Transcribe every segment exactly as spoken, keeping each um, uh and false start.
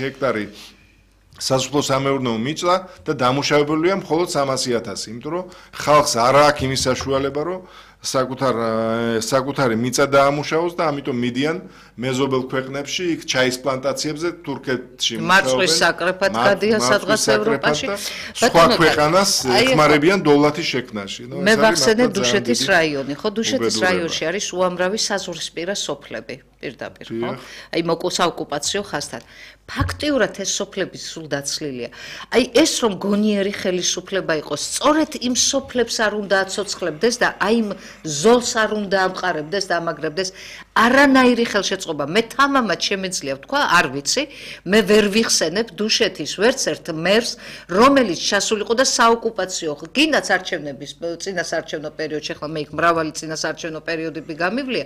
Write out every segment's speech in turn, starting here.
ჰექტარი სასოფლო-სამეურნეო მიწა და დამუშავებულია მხოლოდ სამასი ათასი, იმიტომ რომ ხალხს არ აქვს იმის საშუალება, რომ საკუთარ საკუთარი მიწა დაამუშავოს და ამიტომ მიდიან მეზობელ ქვეყნებში, იქ ჩაის პლანტაციებზე, თურქეთში მუშაობენ. მარწყვის საკრეფად გადიან სადღაც ევროპაში. სხვა ქვეყანას ეხმარებიან დოლათის შექმნაში. მე ვახსენე დუშეთის რაიონი, ხო, დუშეთის რაიონში არის უამრავი საზღვრისპირა სოფლები, პირდაპირ, ხო? აი მოკუსაოკუპაციო ხასთან. ფაქტიურად ეს სოფლები სულ დაცლილია. აი ეს რომ გონიერი ხელისუფლება იყოს, სწორედ იმ სოფლებს არ უნდა აცოცხლებდეს და აი იმ ზოლს არ უნდა ამყარებდეს და ამაგრებდეს არანაირი ხელშეწყობა. მე თამამად შემეძლია ვთქვა, არ ვიცი, მე ვერ ვიხსენებ დუშეთის ვერც ერთ მერს, რომელიც ჩასულიყო და საოკუპაციო, გინდაც არჩევნების წინასაარჩევნო პერიოდში, ახლა მე იქ მრავალი წინასაარჩევნო პერიოდები გამივლია,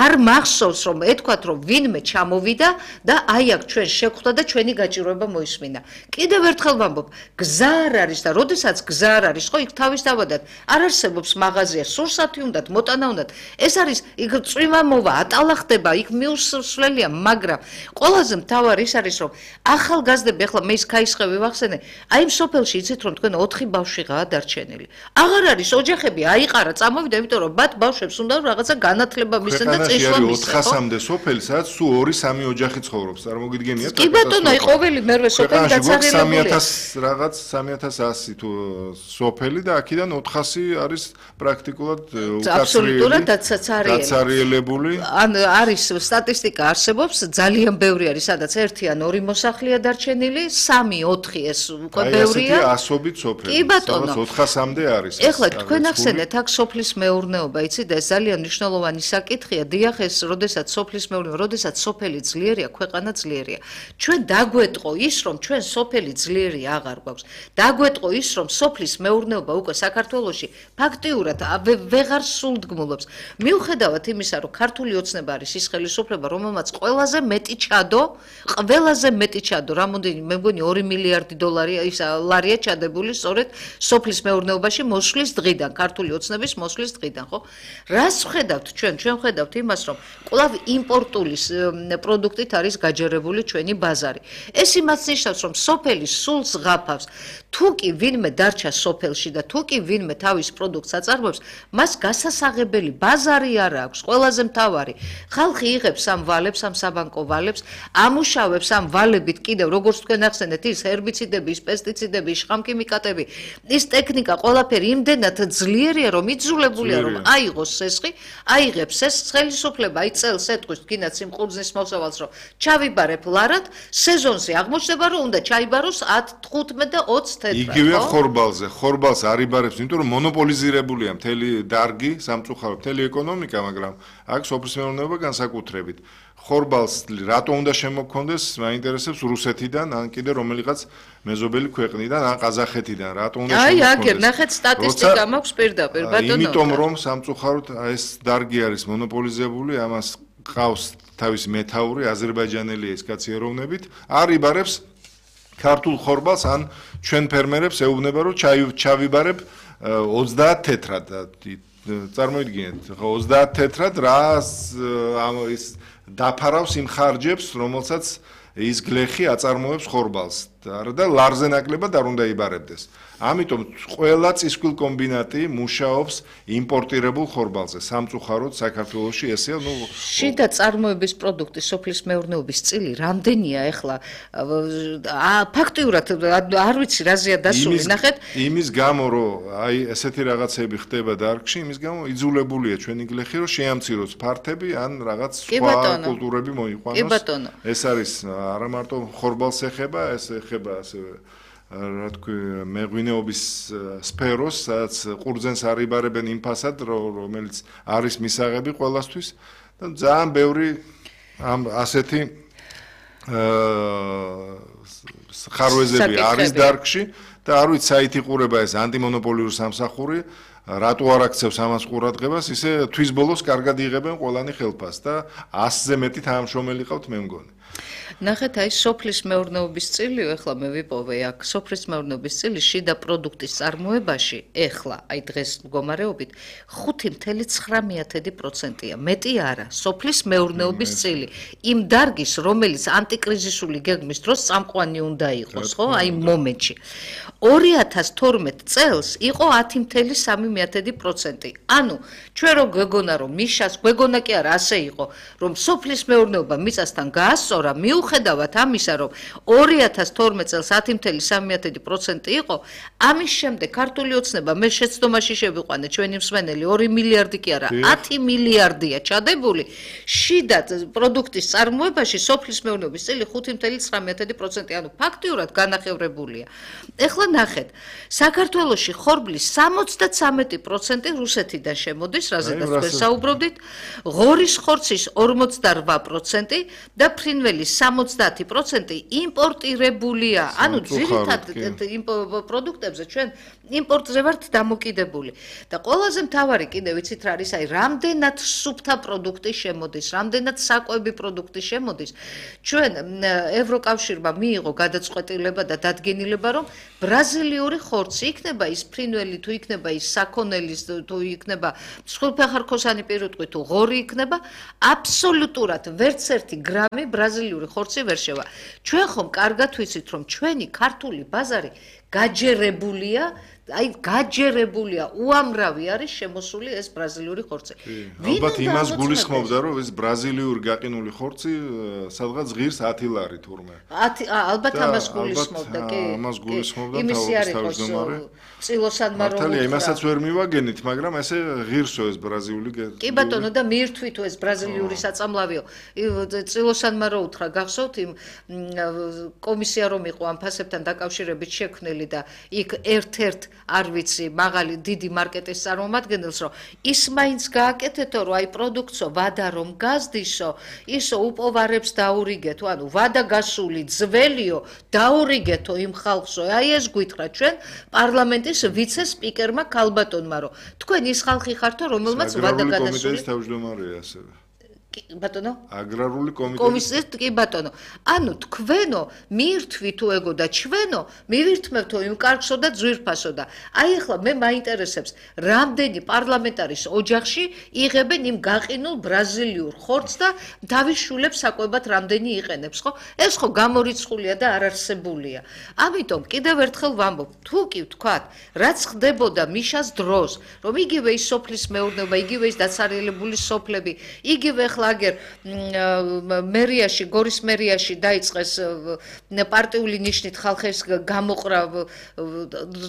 არ მახსოვს რომ ეთქვათ რომ ვინმე ჩამოვიდა და აი აქ ჩვენ შეხვდა და ჩვენი გაჭირვება მოისმინა. კიდევ ერთხელ ვამბობ, გზა არ არის და როდესაც გზა არ არის, ხო იქ თავის დავადათ, არ არსებობს მაღაზია, სურსათი უნდათ, მოტანა უნდათ. ეს არის იქ წვიმა მოვა, ატალა ხდება, იქ მიუსვლელია, მაგრამ ყველაზე მთავარი ის არის, რომ ახალგაზრდები, ახლა მე ის ქაისხევი ვახსენე, აი იმ სოფელში იცით რომ თქვენ ოთხი ბავშვიღაა დარჩენილი. აღარ არის ოჯახები აიყარა, წამოვიდა, იმიტომ რომ ბათ ბავშვებს უნდა რაღაცა განათლება მისცენ და წინშლა მისცენ. ოთხასამდე სოფელი, სადაც სულ ორი სამი ოჯახი ცხოვრობს, წარმოგიდგენია? კი ბატონო, აი ყოველი მერვე სოფელი დაცარიელებულია. სამი ათას რაღაც სამი ათას ასი თუ სოფელი და აქედან ოთხასი არის პრაქტიკულად აბსოლუტურად დაცარიელებული. ან არის სტატისტიკა არსებობს, ძალიან ბევრი არის, სადაც ერთი ან ორი მოსახლეა დარჩენილი, სამი ოთხი ეს უკვე ბევრია. აი ესეთი ასობით სოფელი, სადაც ოთხასამდე არის. ეხლა თქვენ ახსენეთ აქ სოფლის მეურნეობა, იცით, ეს ძალიან მნიშვნელოვანი საკითხია. დიახ, ეს როდესაც სოფლის მეურნეობა, როდესაც სოფელი ძლიერია, ქვეყანა ძლიერია. ჩვენ დაგვეტყო ის, რომ ჩვენ სოფელი ძლიერი აღარ გვაქვს. დაგვეტყო ის, რომ სოფლის მეურნეობა უკვე საქართველოში ფაქტიურად ვეღარ სულდგმულობს. მიუხედავად იმისა, რომ ქართული ოცნება არის ის ხელისუფლება, რომელმაც ყველაზე მეტი ჩადო, ყველაზე მეტი ჩადო, რამოდენი მე მგონი ორი მილიარდი დოლარი ის ლარია ჩადებული სწორედ სოფლის მეურნეობაში მოსვლის დღიდან, ქართული ოცნების მოსვლის დღიდან, ხო? რას ვხედავთ ჩვენ? ჩვენ ვხედავთ იმას, რომ კვლავ იმპორტული პროდუქტით არის გაჯერებული ჩვენი ბაზარი. ეს იმას ნიშნავს, რომ სოფელი სულ ზღაფავს. თუ კი ვინმე დარჩა სოფელში და თუ კი ვინმე თავის პროდუქტს აწარმოებს, მას გასასაღებელი ბაზარი არ აქვს. ყველაზე მთავარი, ხალხი იღებს ამ ვალებს, ამ საბანკო ვალებს, ამუშავებს ამ ვალებით კიდევ, როგორც თქვენ ახსენეთ, ის ჰერბიციდები, ის პესტიციდები, ის შხამქიმიკატები, ის ტექნიკა, ყველაფერი იმდენად ძლიერია, რომ იძულებულია, რომ აიღოს სესხი, აიღებს ეს ხელისუფლება, აი წელს ეთქვის თქინაც იმ ყურძნის მოსავალს, რომ ჩავიბარებ ლარად, სეზონზე აღმოჩნდება, რომ უნდა ჩაიბაროს ათი, თხუთმეტი და ოცი თეთრად. იგივე ხორბალზე, ხორბალს არ იბარებს, იმიტომ რომ მონოპოლიზირებულია მთელი დარგი, სამწუხაროდ მთელი ეკონომიკა, მაგრამ აქ სოფლის მეურნეობა განსაკუთრებით. ხორბალს რატო უნდა შემოქმნდეს, მაინტერესებს რუსეთიდან, ან კიდე რომელიღაც მეზობელი ქვეყნიდან, ან ყაზახეთიდან, რატო უნდა შემოქმნდეს. აი, აქ ნახეთ სტატისტიკა მაქვს პირდაპირ, ბატონო. იმიტომ რომ სამწუხაროდ ეს დარგი არის მონოპოლიზებული, ამას ყავს თავის მეთაური, აზერბაიჯანელია ეს კაცი ეროვნებით, არ იბარებს ქართულ ხორბალს, ან ჩვენ ფერმერებს ეუბნება, რომ ჩავიბარებ ოცდაათ თეთრად. წარმოიდგინეთ, ხო, ოცდაათ თეთრად რა ის დაფარავს იმ ხარჯებს, რომელსაც ის გლეხი აწარმოებს ხორბალს და ლარზე ნაკლებად არ უნდა იბარებდეს. ამიტომ ყველა წისქვილ კომბინატი მუშაობს იმპორტირებულ ხორბალზე. სამწუხაროდ საქართველოში ესეა, ნუ შიდა წარმოების პროდუქტი სოფლის მეურნეობის წილი რამდენია ახლა? ფაქტიურად არ ვიცი რაზეა დასული, ნახეთ. იმის გამო, რომ აი ესეთი რაღაცები ხდება დარგში, იმის გამო იძულებულია ჩვენი გლეხი, რომ შეამციროს ფართები ან რაღაც სხვა კულტურები მოიყვანოს. ეს არის არა მარტო ხორბალს ეხება, ეს ეხება ასევე რა თქვი მეღვინეობის სფეროს, სადაც ყურძენს არ იბარებენ იმ ფასად, რომელიც არის მისაღები ყველასთვის და ძალიან ბევრი ამ ასეთი ხარვეზები არის დარგში და არ ვიცი საით იყურება ეს ანტიმონოპოლიური სამსახური, რატო არ აქცევს ამას ყურადღებას, ისე თვის ბოლოს კარგად იღებენ ყველანი ხელფასს და ასზე მეტი თანამშრომელი ყავთ მე მგონი. ნახეთ, აი სოფლის მეურნეობის წილი, ეხლა მე ვიპოვე აქ, სოფლის მეურნეობის წილი შიდა პროდუქტის წარმოებაში, ეხლა, აი დღეს მდგომარეობით, ხუთი წუთი ცხრა პროცენტია, მეტი არა, სოფლის მეურნეობის წილი. იმ დარგის, რომელიც ანტიკრიზისული გეგმის დროს წამყვანი უნდა იყოს, ხო? აი მომენტში. ორი ათას თორმეტ წელს იყო ათი წუთი სამი პროცენტი. ანუ, ჩვენ რო გვეგონა რომ მიშას, გვეგონა კი არა, ასე იყო, რომ სოფლის მეურნეობა მიწასთან გაასწორა, მიუხედავად ამისა, რომ ორი ათას თორმეტ წელს ათი წუთი სამი პროცენტი იყო, ამის შემდეგ ქართული ოცნება მე შეცდომაში შევიყვანე ჩვენი მსმენელი ორი მილიარდი კი არა, ათი მილიარდია ჩადებული, შიდა პროდუქტის წარმოებაში სოფლის მეურნეობის წილი ხუთი წუთი ცხრა პროცენტი, ანუ ფაქტიურად განახევრებულია. ეხლა ნახეთ, საქართველოში ხორბლის სამოცდასამი პროცენტი რუსეთიდან შემოდის, რაზედაც ვერ საუბრობდით, ღორის ხორცის ორმოცდარვა პროცენტი და ფრინველის სამოცდაათი პროცენტი იმპორტირებულია. ანუ ძირითად პროდუქტებზე ჩვენ იმპორტზე ვართ დამოკიდებული. და ყველაზე მთავარი კიდე ვიცით რა არის, აი რამდენად სუფთა პროდუქტი შემოდის, რამდენად საკვები პროდუქტი შემოდის. ჩვენ ევროკავშირმა მიიღო გადაწყვეტილება და დადგენილება, რომ ბრაზილიური ხორცი იქნება ის ფრინველი თუ იქნება ის საქონელის თუ იქნება მსხვილფეხარქოსანი პირუტყვი თუ ღორი იქნება, აბსოლუტურად ვერც ერთი გრამი ბრაზილიური ხორცი ვერ შევა. ჩვენ ხომ კარგად ვიცით, რომ ჩვენი ქართული ბაზარი გაჯერებულია, აი გაჯერებულია, უამრავი არის შემოსული ეს ბრაზილიური ხორცი. ალბათ იმას გულისხმობდა, რომ ეს ბრაზილიური გაყინული ხორცი სადღაც ღირს ათი ლარი თურმე. ალბათ ამას გულისხმობდა, კი. ამას გულისხმობდა თავის თავმჯდომარე. წილოსანმა რომ მართალია, იმასაც ვერ მივაგენით, მაგრამ ესე ღირსო ეს ბრაზილიური. კი ბატონო, და მიირთვითო ეს ბრაზილიური საწამლავიო. წილოსანმა რო უთხრა, გახსოვთ იმ კომისია რომ იყო ამ ფასებთან დაკავშირებით შექმნილი და იქ ერთ-ერთ არ ვიცი, მაღალი დიდი მარკეტის წარმომადგენელს, რომ ის მაინც გააკეთეთო, რომ აი პროდუქტსო ვადა რომ გაზდისო, ისო უპოვარებს დაურიგეთო, ანუ ვადა გასული ძველიო, დაურიგეთო იმ ხალხსო. აი ეს გვითხრა ჩვენ პარლამენტის ვიცე-სპიკერმა ქალბატონმა, რომ თქვენ ის ხალხი ხართო, რომელმაც ვადა გადასული. აგრარული კომიტეტის თავმჯდომარეა ასევე. ბატონო? აგრარული კომიტეტის კომისიის კი ბატონო. ანუ თქვენო მიირთვითო ეგო და ჩვენო მივირთმევთო იმ კარგსო და ძვირფასო და აი ახლა მე მაინტერესებს რამდენი პარლამენტარის ოჯახში იღებენ იმ გაყინულ ბრაზილიურ ხორცს და თავის შულებს საკვებად რამდენი იყენებს, ხო? ეს ხო გამორიცხულია და არ არსებულია. ამიტომ კიდევ ერთხელ ვამბობ, თუ კი ვთქვათ, რაც ხდებოდა მიშას დროს, რომ იგივე ის სოფლის მეურნეობა, იგივე ის დაცარიელებული სოფლები, იგივე ახლა აგერ მერიაში, გორის მერიაში დაიწყეს პარტიული ნიშნით ხალხის გამოყრა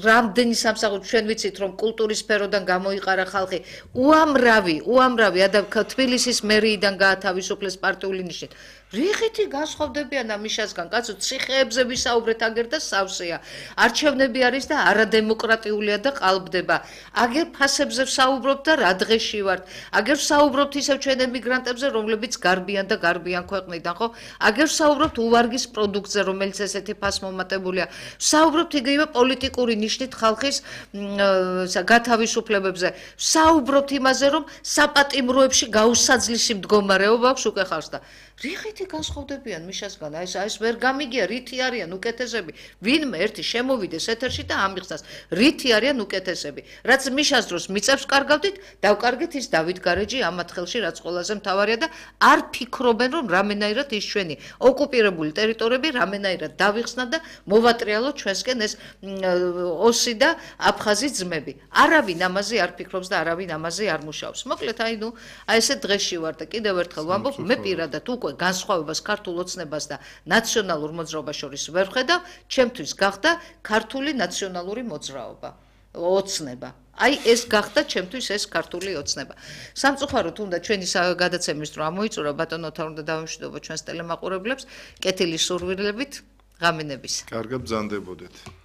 რამდენი სამსახური, ჩვენ ვიცით, რომ კულტურის სფეროდან გამოიყარა ხალხი, უამრავი, უამრავი ადამიანი თბილისის მერიიდან გაათავისუფლეს პარტიული ნიშნით. რიხითი განსხვავდებიან ამ მიშასგან, კაცო, ციხეებზე ვისაუბრეთ აგერ და სავსეა. არჩევნები არის და არადემოკრატიულია და ყალბდება. აგერ ფასებზე ვსაუბრობთ და რა დღეში ვართ. აგერ ვსაუბრობთ ისევ ჩვენ ემიგრანტებზე, რომლებიც გარბიან და გარბიან ქვეყნიდან, ხო? აგერ ვსაუბრობთ უვარგის პროდუქტზე, რომელიც ესეთი ფასმომატებულია. ვსაუბრობთ იგივე პოლიტიკური ნიშნით ხალხის გათავისუფლებებზე. ვსაუბრობთ იმაზე, რომ საპატიმროებში გაუსაძლისი მდგომარეობა აქვს უკვე ხარს და რიხითი განსხვავდებიან მიშასგან, აი ეს ვერ გამიგია, რითი არიან უკეთესები. ვინმე ერთი შემოვიდეს ეთერში და ამიხსნას, რითი არიან უკეთესები. რაც მიშას დროს მიწებს კარგავდით, დავკარგეთ ის დავით გარეჯი ამათ ხელში, რაც ყველაზე მთავარია და არ ფიქრობენ, რომ რამენაირად ის ჩვენი ოკუპირებული ტერიტორიები რამენაირად დავიხსნა და მოვატრიალოთ ჩვენსკენ ეს ოსი და აფხაზი ძმები. არავინ ამაზე არ ფიქრობს და არავინ ამაზე არ მუშაობს. მოკლედ, აი ნუ, აი ესე დღეში ვარ და კიდევ ერთხელ ვამბობ, მე პირადად უკვე განსხვავებას ქართულ ოცნებას და ნაციონალურ მოძრაობას შორის ვერ ვხედავ, ჩემთვის გახდა ქართული ნაციონალური მოძრაობა, ოცნება. აი ეს გახდა ჩემთვის ეს ქართული ოცნება. სამწუხაროდ უნდა ჩვენი გადაცემის დრო ამოიწურა, ბატონოთა უნდა დავიმშვიდობო ჩვენს ტელემაყურებლებს, კეთილი სურვილებით, ღამენების. კარგად ბრძანდებოდეთ.